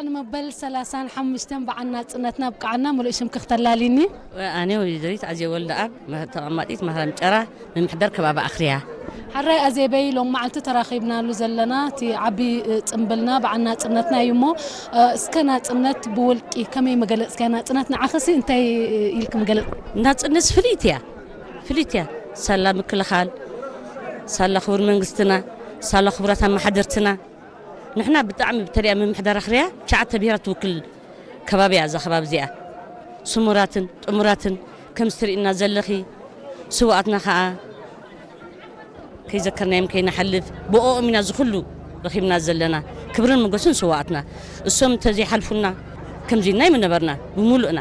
ንመበል ሰላሳን ሓሙሽተን በዓል ናጽነትና ኣብቅዓና። ሙሉእ ሽምኪ ክተላልይኒ? ኣነ ወይዘሪት ኣዜ ወልደኣብ፣ መ-፣ ተቐማጢት ማህረም ጨራ፣ ምምሕዳር ከባቢ ኣኽርያ። ሓራይ ኣዜበይ፣ ሎም መዓልቲ ተራኺብናሉ ዘለና እቲ ዓቢ፣ እ፣ ጽምብልና በዓል ናጽነትና እዩ እሞ፣ እ፣ እስከ ናጽነት ብውልቂ ከመይ መገለጽካያ? ናጽነት ንዓኽሲ እንታይ፣ እ፣ ኢልክ መገለጽ? ናጽነት ፍልይቲ እያ፣ ፍልይቲ እያ። ሳላ ምክልኻል፣ ሳላ ክቡር መንግስትና፣ ሳላ ክቡራት ኣመሓደርትና። ንሕና ብጣዕሚ፣ ብተለይ ኣብ ምምሕዳር ኣኽርያ ትሽዓተ ብሄራት ትውክል ከባቢ እያ እዛ ከባቢ እዚኣ። ስሙራትን ጥሙራትን ከምዚ ትርእይና ዘለኺ፣ ስውኣትና ኸኣ ከይዘከርናዮም ከይንሓልፍ፣ ብኦኦም ኢና እዚ ኩሉ ረኺብና ዘለና። ክብርን ሞገስን ስውኣትና። እሶም እንተዘይሓልፉና ከምዚ ኢልና ኣይምነበርና ብምሉእና።